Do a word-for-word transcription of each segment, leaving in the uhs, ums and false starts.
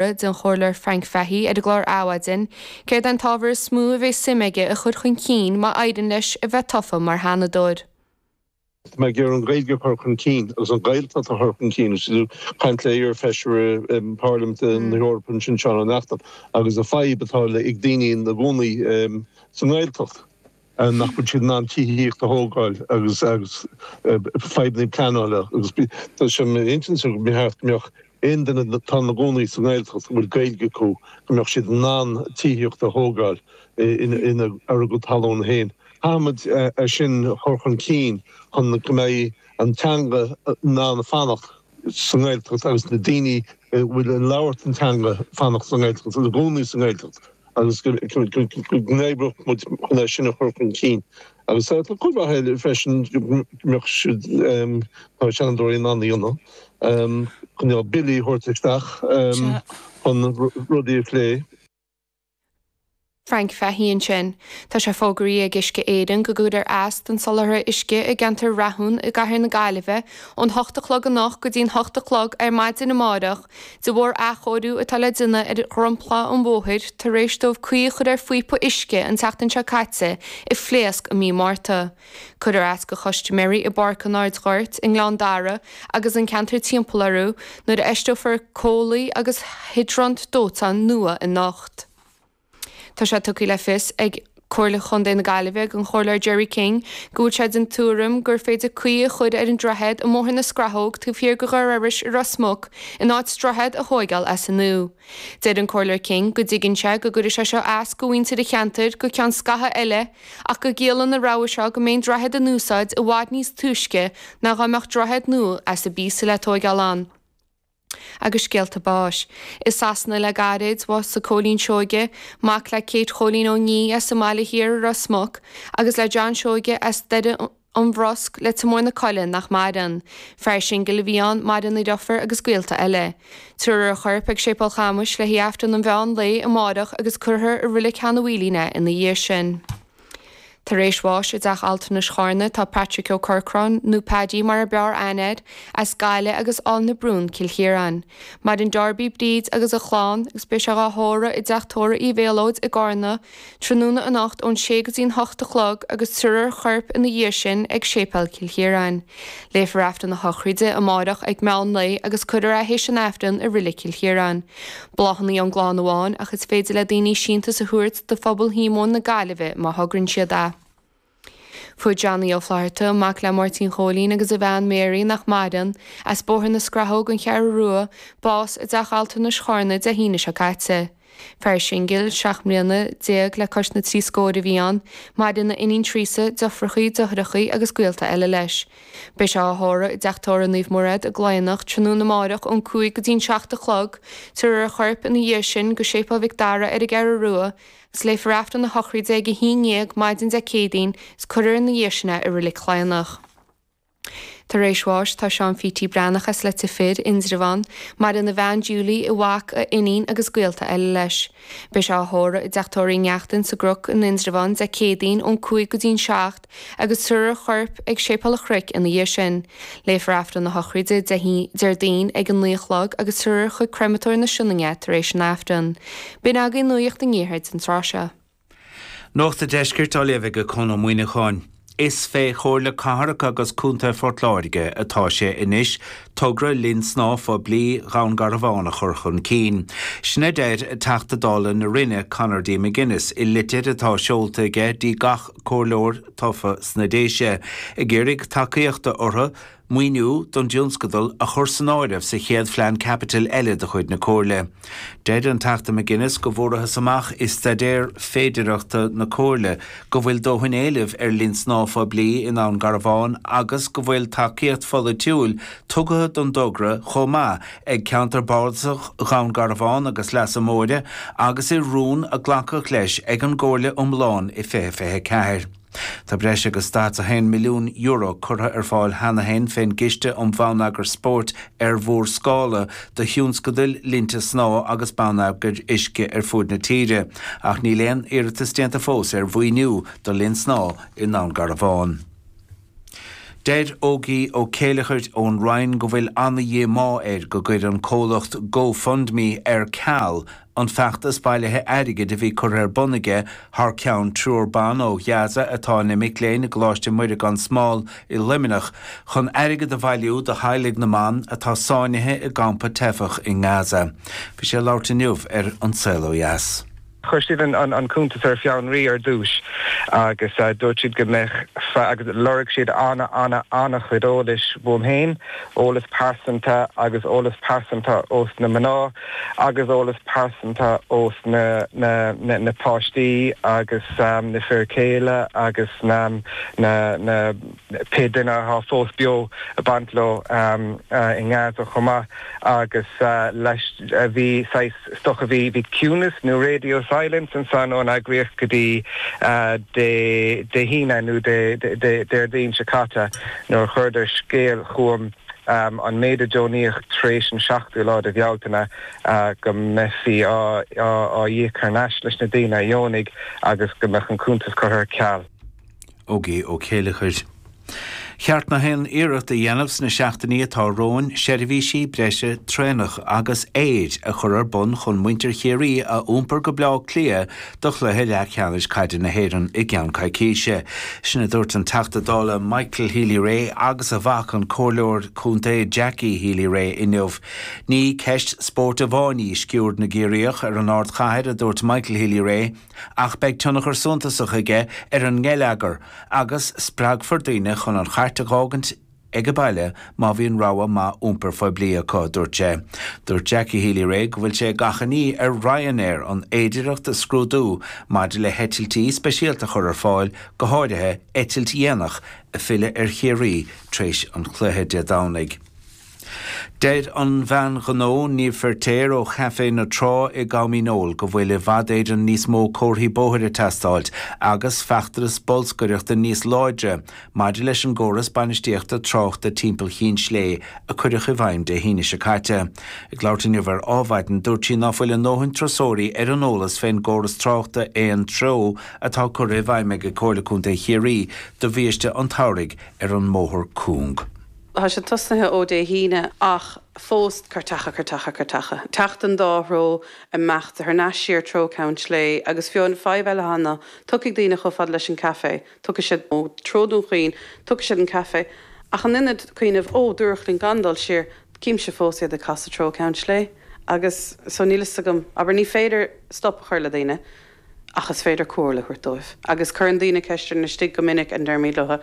den Chomhairleoir Frank Fahey ar an gclár Adhmhaidin, céard an t-ábhar is mó a bheidh suim aige a chur chun cinn má éiríonn leis a bheith tofa mar Sheanadóir. Tá mé ag iarraidh an Ghaeilge a chur chun cinn agus an Ghaeltacht a chur chun cinn caint le iar-fheisire Parlaiminte na hEorpa sin Seán Ó Neachtain agus an fadhb atá le ag daoine ina gcónaí sa nGaeltacht nach bhfuil siad in ann tithíocht a thógáil agus agus fadhbanna pleanála agus tá sé intinn go mbeadh go mbeadh aon duine atá ina gcónaí sa nGaeltacht a bhfuil Gaeilge acu go mbeadh siad in ann tithíocht a thógáil ina ar a gcuid talún féin. Caithfimid é sin a chur chun cinn chun go mbeidh an teanga in ann fanacht sa nGaeltacht agus na daoine a bhfuil ag labhairt an teanga fanacht sa nGaeltacht agus i gcónaí sa nGaeltacht agus go n-oibreodh muid chun é sin a chur chun cinn. Agus tá cuid mhaith eile freisin go mbeadh siad tá seanadóirí in ann a dhéanamh, chun billí a thabhairt isteach chun rudaí a phlé. Frank Fahey ansin. Tá sé fógraithe ag Uisce Éireann go gcuirfear as don soláthar uisce i gceantar Rathún i gCathair na Gaillimhe ón hocht a chlog anocht go dtí'n hocht a chlog ar maidin amárach de bharr athchóiriú atá le déanamh ar dhromchla an bhóthair tar éis dóibh caoi a chur ar phíopa uisce an tseachtain seo caite a phléasc i mí Márta. Cuirfear as do chustaiméirí i bPáirc an Aird Ghoirt i nGleann Dara agus an ceantar timpeall orthu nuair a fheisteofar comhlaí agus hiodrant dóiteáin nua anocht. Tá sé tugtha le fios ag Comhairle Chontae na Gaillimhe ag an Chomhairleoir Gerry King go bhfuil sé den tuairim gur féidir caoi a chur ar an droichead i mBóthar na Scrathóg taobh thiar de Dhoire Iorrais i Ros Muc in áit droichead a thóigeáil as an nua. Deir an Comhairleoir King go dtuigeann sé go gcuirfidh sé seo as do mhuintir an cheantair go ceann scaithimh eile ach go gciallaíonn an rogha seo go mbeidh an droichead in úsáid i bhfad níos túisce ná dá mbeadh droichead nua as an bpíosa le tóigeáil ann. Agus scéalta báis. I Sasana le gairid, bhásaigh Cóilín Seoige, mac le Kate Chóilín Ó Ní as an mBaile Thiar i Ros Muc, agus le John Seoige as Doire an Bhrosc, Leitir Móir na Coille, nach maireann. Fear singil a bhí ann, maireann a dheirfiúr agus gaolta eile. Tabharfar a chorp ag Séipéal Chamuis le haghaidh Aifreann an mheán lae amárach agus cuirfear i Reilig Sheanadh Mhaoilín é ina dhiaidh sin. Tar éis bháis i dTeach Altranais Charna tá Patrick Ó Corcráin, nó Paddy mar a b'fhearr aithne air, as Gaillimh agus Áill na Brún, Cill Chiaráin. Maireann Darby, Bríd agus a chlann agus beidh sé dhá thórramh i dTeach Tórraimh Uí Mhéalóid i gCarna tráthnóna anocht ón sé go dtí'n hocht a chlog agus tabharfar a chorp ina dhiaidh sin ag Séipéal Chill Chiaráin. Léifear Aifreann a shochraide amárach ag meán lae agus cuirfear é théis an Aifrinn i Reilig Chill Chiaráin. Bláthanna ón gclann amháin ach is féidir le daoine síntiús a thabhairt do Phobal Shíomóin na Gaillimhe má thograíonn siad é. Fuair Johnny Ó Flatharta, mac le Máirtín Chóilín agus a bhean Mary nach maireann, as Bóthar na Scrathóg, An Cheathrú Rua, bás i dTeach Altranais Charna Dé hAoine seo caite. Fear singil, seacht mbliana déag le cois na trí scór a bhí ann, maireann a iníon Teresa, deirfiúracha, deartháireacha agus gaolta eile leis. Beidh sé á thórramh i dTeach Tórraimh Naomh Mairéad i gCloigheannach tráthnóna amárach ón cúig go dtí'n seacht a chlog, tabharfar a chorp ina dhiaidh sin go Séipéal Mhic Dara ar an gCeathrú Rua agus léifear Aifreann a shochraide ag a haon dhéag maidin Dé Céadaoin is cuirfear ina dhiaidh sin é i Reilig Chloigheannach. Tar éis bháis tá Seán Phítí Breathnach as Leitir Fir, Indreabhán, maireann a bhean Julie, a mhac, a iníon agus gaolta eile leis. Beidh sé á thórramh i dTeach Tórraimh Uí Neachtain sa gCnoc in Indreabhán Dé Céadaoin ón cúig go dtí'n seacht agus tabharfar a chorp ag Séipéal an Chnoic ina dhiaidh sin. Léifear Aifreann a shochraide Déardaoin ag a naoi a chlog agus tabharfar chuig Créamatóir na Sionainne tar éis an Aifrinn. B'in agaibh Nuacht an Iarthair don tráth seo. Nuacht an Deiscirt á léamh ag Conn Ó Muíneacháin. Is fé Chomhairle Cathrach agus Contae Phort Láirge atá sé anois togra linn snámha phoiblí Dhún Garbhán a chur chun cinn. Sin a deir Teachta Dála na Rinne Conor D. McGuinness i litir atá seolta aige dtí gach comhairleoir tofa sna Déise, ag iarraidh tacaíochta orthu maoiniú don dtionscadal a chur san áireamh sa chéad phlean caipitil eile de chuid na Comhairle. Deir an Teachta McGuinness go bhfuarthas amach i staidéar féidearthachta na Comhairle go bhfuil dóthain éilimh ar linn snámha phoiblí i nDún Garbhán agus go bhfuil tacaíocht pholaitiúil tugtha don dtogra chomh maith ag ceantar bardasach Dhún Garbhán agus Leasa Móire agus i rún a glacadh leis ag an gComhairle iomlán i fiche fiche a ceathair. Tá breis agus daichead a haon milliún euro curtha ar fáil cheana féin fén gCiste um Bhonneagar Spóirt ar Mhórscála do thionscadail linnte snámha agus bonneagair uisce ar fud na tíre, ach níl aon iarratas déanta fós ar mhaoiniú do linn snámha i nDún Garbhán. Deir Ógie Ó Céileachair ón Rinn go bhfuil an-dhíomá air go gcuir an comhlacht GoFundMe ar ceal an feachtas bailithe airgid a bhí curtha ar bun aige thar ceann triúr ban ó Ghaza atá ina mic léinn i gColáiste Muire gan Smál i Luimneach chun airgead a bhailiú do theaghlaigh na mban atá sáinnithe i gcampa teifeach i nGaza. Bhí sé ag labhairt inniu ar An Saol Ó Dheas. Chuir siad an cuntas ar fionraí ar dtús agus dúirt siad go mbeadh agus lorg siad ana ana ana-chuid eolais uaim féin, eolas pearsanta agus eolas pearsanta ós na mná agus eolas pearsanta ós na na na na páistí agus na fir céile agus na na na pé duine atá fós beo ag baint leo i nGaza chomh maith agus leis bhí saghas is dócha bhí bhí ciúnas nó radio silence ansan ón eagraíocht go dtí Dé Dé hAoine nó Dé Déardaoin seo caite nuair a chuireadar scéal chugam an méid a deonaíodh tar éis an seachtú lá de Bhealtaine go mbeifí á á íoc thar n-ais leis na daoine a dheonaigh agus go mbeadh an cuntas curtha ar ceal. Ógie Ó Céileachair. Cheart na haon iarracht a dhéanamh sna seachtainí atá romhainn seirbhísí breise traenach agus aeir a chur ar bun chun muintir Chiarraí a iompar go Bleá Cliath do chluiche leathcheannais caide na hÉireann i gceann coicíse. Sin a dúirt an Teachta Dála Michael Healy-Rae agus a mhac an Comhairleoir Contae Jackie Healy-Rae inniu. Ní ceist spóirt amháin í sciuird na gCiarraíoch ar an ardchathair, a dúirt Michael Healy-Rae, ach beidh tionchar suntasach aige ar an ngeilleagar agus spreagfar daoine chun an chairt a dh'fhágaint ag baile má bhíonn rogha maith iompair phoiblí acu, a dúirt sé. Dúirt Jackie Healy-Rae go bhfuil sé ag achainí ar Ryanair an fhéidearthacht a scrúdú maidir le heitiltí speisialta a chur ar fáil, go háirithe eitilt dhéanach ag filleadh ar Chiarraí tar éis an chluiche Dé Domhnaigh. Deir an bhean ghnó Niamh Feirtéar ó Chaifé na Trá i gCom Dhíneol go bhfuil i bhfad Éireann níos mó comharthaí bóthair ag teastáilt agus feachtas bolscaireachta níos láidre maidir leis an gcóras bainistíochta tráchta timpeall Chinn Slé a cuireadh i bhfeidhm Dé hAoine seo caite. Ag labhairt inniu ar Adhmhaidin, dúirt sí ná fuil a ndóthain turasóirí ar an eolas fén gcóras tráchta aon treo atá curtha i bhfeidhm ag Comhairle Contae Chiarraí do bhiaiste an tsamhraidh ar an mbóthar cúng. Tá sé tosnaithe ó Dé hAoine ach fós cairteacha, cairteacha, cairteacha. Teacht an dá threo, imeacht thar n-ais siar treo Ceann Slé agus fiú an fadhb eile atá ná, tiocfaidh daoine chomh fada leis an café, tiocfaidh siad ó treo Dún Chaoin, tiocfaidh siad an café ach in ionad cuimhneamh ó, dúradh linn gan dul siar, címse fós iad ag casadh treo Ceann Slé agus so níl fhios agam, abair ní féidir stop a chur le daoine ach is féidir comhairle a thabhairt dóibh agus cuireann daoine ceist orainn istigh go minic and deirimid leo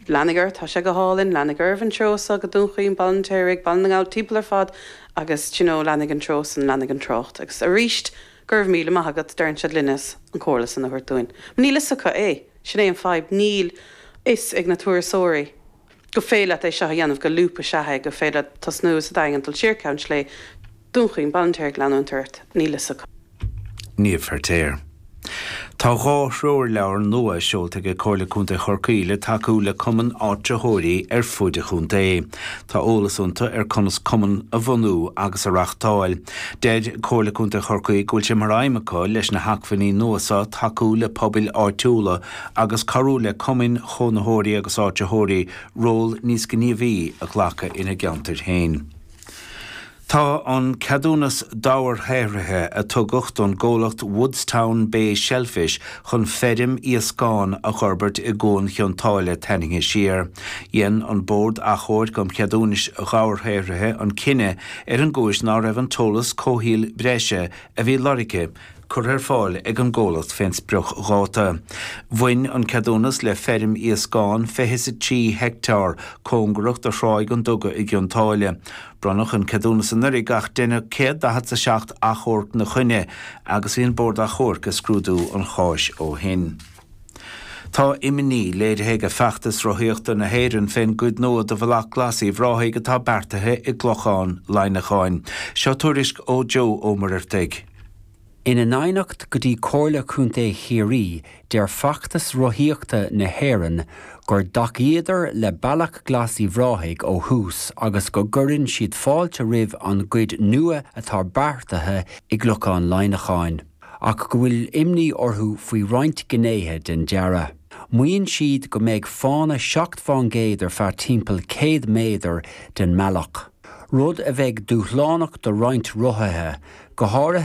Leanaigí oraibh, tá sé go hálainn, leanaigí oraibh an treo so go Dún Chaoin, Baile an Fheirtéaraigh, Baile na nGall, timpeall ar fad agus d'you know leanaigí an treo san, leanaigí an trácht. Agus aríst, go raibh míle maith agat, deireann siad linn as an chomhairle san a thabhairt dúinn. Níl fhios acu é, sin é an fadhb, níl fhios ag na turasóirí go féidir leat é seo a dhéanamh, go loop is ea é, go féidir leat tosnú sa Daingean, dul siar Ceann Slé, Dún Chaoin, Baile an Fheirtéaraigh, leanúint ort, níl fhios acu. Niamh Feirtéar. Tá dhá threoirleabhar nua seolta ag Comhairle Contae Chorcaí le tacú le cumainn áitritheoirí ar fud an chontae. Tá eolas iontu ar conas cumann a bhunú agus a reáchtáil. Deir Comhairle Contae Chorcaí go bhfuil sé mar aidhm acu leis na hacmhainní nua seo tacú le pobail áitiúla agus cabhrú le cumainn chónaitheoirí agus áitritheoirí ról níos gníomhaí a ghlacadh ina gceantair féin. Tá an ceadúnas dobharshaothraithe a tugadh don gcomhlacht Woodstown Bay Shellfish chun feirm iascán a fhorbairt i gCuan Chionn tSáile tarraingthe siar. Dhein an Bord Achomhairc um Cheadúnais Dhobharshaothraithe an cinneadh ar an gcúis ná raibh an t-eolas comhshaoil breise a bhí lorgtha curtha ar fáil ag an gcomhlacht fén spriocdháta. Bhain an ceadúnas le feirm iascán fiche is a trí heicteár cóngarach do Thráigh an Duga i gCionn tSáile. Bronnadh an ceadúnas anuraidh ach deineadh céad daichead is a seacht achomharc 'na choinne agus bhí an Bord Achomhairc ag scrúdú an cháis ó shin. Tá imní léirithe ag Feachtas Rothaíochta na hÉireann fén gcuid nua de Bhealach Glas Uíbh Ráthaigh atá beartaithe i gClochán Laighneacháin. Seo tuairisc ó Joe Ó Muircheartaigh. Ina n-aighneacht go dtí Comhairle Contae Chiarraí, deir Feachtas Rothaíochta na hÉireann gur dtacaíodar le Bealach Glas Uíbh Ráthaigh ó thús agus go gcuireann siad fáilte roimh an gcuid nua atá beartaithe i gClochán Laighneacháin, ach go bhfuil imní orthu faoi roinnt gnéithe den dearadh. Maíonn siad go mbeidh fána seacht fán gcéad ar feadh timpeall céad méadar den mbealach. Rud a bheidh dúshlánach do roinnt rothaithe, go háirithe